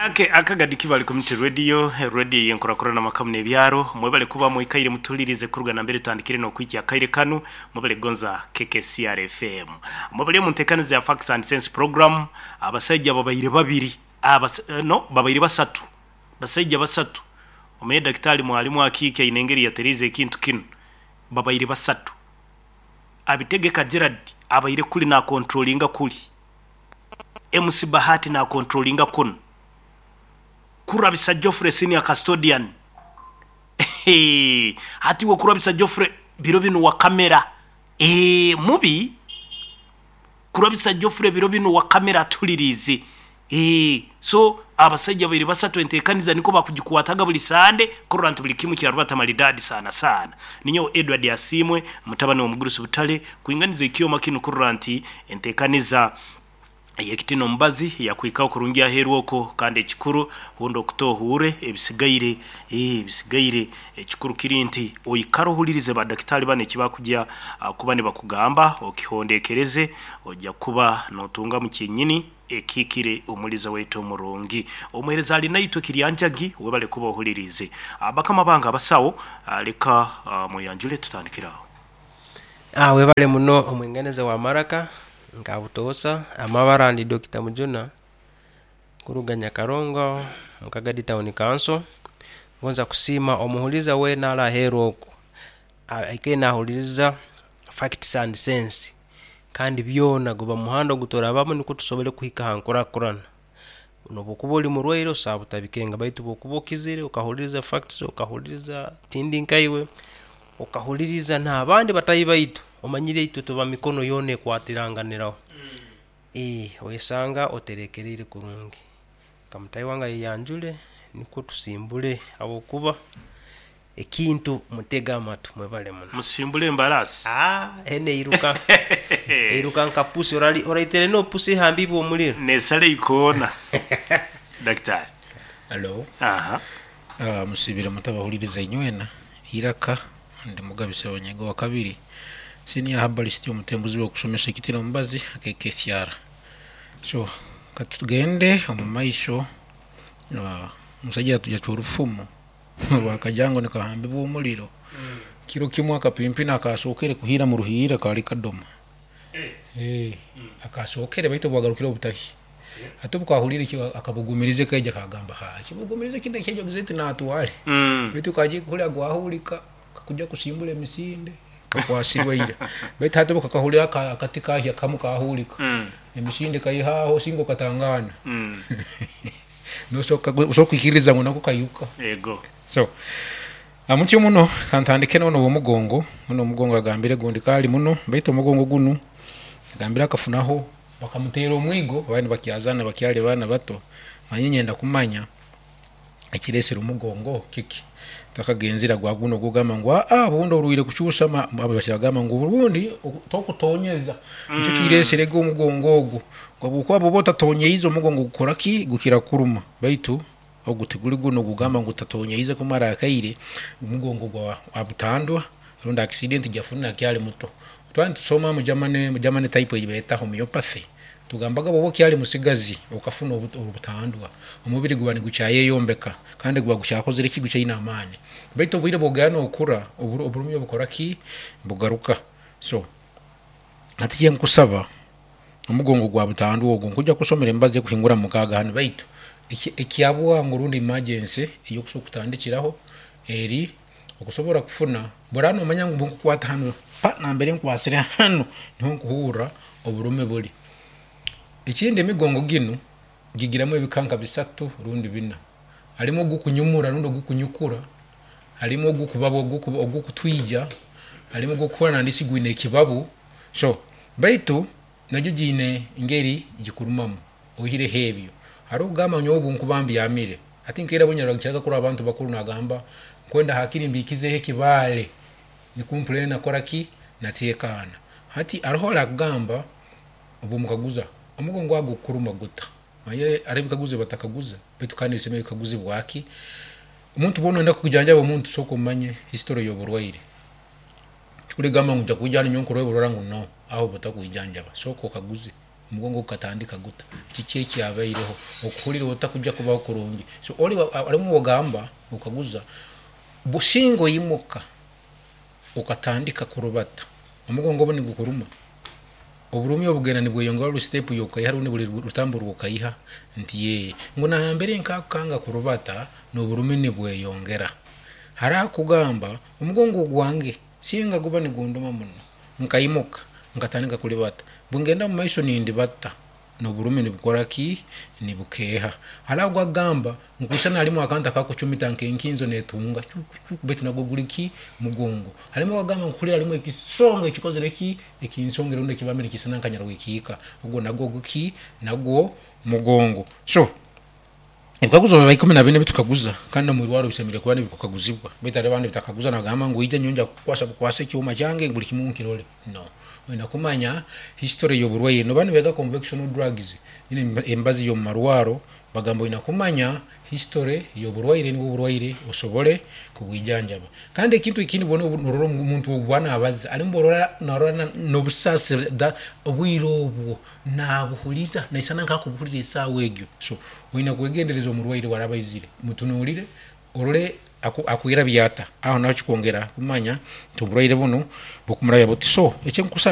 Okay, Akagadi Kibale Community Radio, radio y'enkurakurana amaka muno ebyaro. Mwebale kuba mwikaire mutulirize kuruga nambere tutandikire n'okwikya akaire kanu. Mwebale kugonza KKCR FM. Mwebale omu nteekaniza ya Facts and Sense program. Abasaija babaire babiri, abas, no, babaire basatu. Basaija basatu. Omaye Dakitali Mwalimu Akiiki aine engeri yatereize ekintu kinu. Babaire basatu. Abitegeka Gerald abaire kuli nakontrolinga kuli. MC Bahati nakontrolinga kunu. Kurabisa Geoffrey senior custodian. Hati iwe Kurabisa Geoffrey biro binu wa kamera. Eeh mubi. Kurabisa Geoffrey biro binu wa kamera atuhuliriize. Eeh so abasaija babaire basatu entekaniza nikwo bakugikwataga buli Sande kurora nti buli kimu kyarubata maridadi sana sana. Ninyowe Edward Asiimwe mutabani w'omugurusi Butale kwinganiza ekyoma kinu kurora nti entekaniza ey'ekitina omubazi yakuhikaho kurungi aheeru okwo kandi ekikuru hunda okuta ohuure ebisigaire eeh ebisigaire ekikuru kiri nti oikare ohulirize ba dakitaali banu eki bakugya kuba nibakugamba okihondekereze oja kuba notungamu kyenyini ekihikire omuliza waitu omurungi. Omuhereza ali naitwe Kiryanjagi webale kuba ohuliriize. Bakama bange abasawo leka mweyanjule tutandikire aho. Webale muno omwinganiza wa maraka nka butoosa amabara ndi Dokita Mujuna kuruga Nyakarongo omu Kagadi Town Council. Ngonza kusiima omuhuliriza weena ali aheeru okwo aikaire nahuliriza Facts and Sense kandi byona guba muhanda oguturabamu nukwo tusobole kuhika ha nkurakurana. Nobu okuba ori murwaire osobola butabikenga baitu obu okuba okizire okahuliriza Facts, okahuliriza Tindi Nkaiwe, okahuliriza n'abandi bataahi baitu, omanyire itwe tuba mikono yoona ekwatiranganiraho. Oyesanga oterekereire kurungi. Nka mutaahi wange ayeyanjure nukwo tusimbule habwokuba ekintu mutege amatu mwebale muno. Musimbule embaraasi. Eno eiruka eiruka nka pusi oraitire no pusi ehambiibwe omuliro. Nesala eikoona. Daktari. Halo. Aha. Musibire muta abahuliriza inywena? Iraka, Ndi Mugabi Ssebanyego wa kabiri, Senior Herbalist omutembuzi w'okusomesa ekitira omubazi ak'ekesyara. So katugende omu maiso, omusaija yacwa orufumu orwa kajango nikahambibwa omuliro. Kiro kimu akapimpina akasookere kuhiira mu ruhiira kaali kadoma. Akasookere baitu obu bwagarukire obutahi. Hati obu kahuliire eki akabugumirize kaija kagamba, haa ekibugumirize kinu ekyaija ogize oti natwale. Baitu kagiire kuhurra gwahurika kakuja kusimbura emisinde kakwasirwe ira. Baitu hati obu kakahurra akati kahya kamu kahurika, emisinde kaiha aho osinga okatangaana. Nosobora kwikiririza ngu nako kairuka. Ego. So, mutyo muno kantandike n'onu ow'omugongo, onu omugongo agambire gundi kaali muno baitu omugongo gunu agambire akafunaho bakamuteera omwigo baali nibakyazaana bakyali baana bato, manya nyenda kumanya ekireesere omugongo kiki? Takagenzere gwa gunu ogugamba ngu aa obundi orwaire kukyusa bagamba ngu obundi tokutonyeza nikyo kireeserege omugongo ogu, habwokuba bwoba otatonyeize omugongo gukora ki? Gukira kukuruma baitu ogu tiguli gunu ogugamba ngu otatonyeize kumara akaire omugongo gwa butandwa rundi accident gyafunire akyali muto. Twali nitusoma omu Germany type eyibeeta homeopathy, tugambaga bwoba okyali musigazi okafuna obutandwa, omubiri guba nigukyayeyombeka kandi guba gukyakozire ki? Gukyaine amaani. Baitu obwire bwogenda nokura, oburumi obukora ki? Bugaruka. So hati ekyenkusaba, omugongo gwa butandwa ogu, nkuija kusomera emibazi ekuhingura mukaaga hanu baitu ekyabwangu rundi emergency eyokusobola kutandikiraho eri okusobora kufuna, bworaba nomanya ngu obunkukwata hanu, pa nambere nkwasire hanu niho nkuhurra oburumi buli. Ekindi emigongo ginu gigiramu ebika nka bisatu rundi bina, harimu ogukunyumura rundi ogukunyukura, harimu ogukubaba ogukutwija, harimu ogukuhurra nandiki gwine ekibabu, so baitu nagyo giine engeri gikurumamu oihireho ebyo. Haroho okugamba nyowe obunkuba mbyamire, hati nkaira obunyarukiraga kurora abantu bakuru nagamba nkwenda hakiri mbikizeho ekibaale nikwo mpurre nakora ki? Natekaana. Hati haroho arakugamba obwomukaguza omugongo gwawe gukukuruma guta? Manyire haroho ebikaguzo ebibatakaguza baitu kandi bisemeriire kukaguzibwa ki? Omuntu bwoba noyenda kujanjaba omuntu sooka omanye history y'oburwaire. Tikuligamba ngu nija kwija hanu nyowe nkurole burora ngu no, aho oba otakwijanjaba. Sooka okaguze. Omugongo gukatandika guta? Kiki ekyabaireho? Okuhurira otakujya kubaho kurungi. So oli alimu ogamba okaguza businga oimuka okatandika kurubata, omugongo obu nigukuruma, oburumi obugenda nibweyongera buli step yokaiha rundi buli rutambu rwokaiha, nti yee, ngu nambere nkakukanga kurubata n'oburumi nibweyongera. Haraho akugamba omugongo gwange singa guba nigunduma muno, nkaimuka nkatandika kulibata, bwengenda mumaiso nindibata n'oburumi nibukora ki? Nibukeeha. Haraho gwagamba nkusana halimu akantu akakucumita nk'enkinzo netunga cuku baitu nagwo guli ki? Mugongo. Halimu agamba nkuhurira halimu ekisongo ekikozere ki? Ekinsongere rundi ekibambire nikisana nka nyarwekiika, ogwo nagwo guki? Nagwo mugongo. So ebikaguzo biba 14 bitukaguza, kandi nomwirwaro bisemeriire kuba nibikukaguzibwa, baitu hariho abandi bitakaguza nagamba ngu ija nyowe nja kukukwasa bukwasa ekyoma kyange buli kimu nkirole. No, oina kumanya history y'oburwaire. Noba nibeega convectional drugs, nyine emibazi y'omumarwaro, bagamba oina kumanya history y'oburwaire nibwo oburwaire osobole kubwijanjaba. Kandi ekintu ekindi bona norora omuntu obu nabaza alimu borora narora n'obusaasi obwire obwo nabuhuliza naisana nkakubuhulira esaawa egyo. So oina kwegendereza omurwaire waraba aizire, mutunuulire orole akwirabya ata, aho naho kikwongera kumanya nti oburwaire bunu bukumurabya buti. So ekyenkusaba.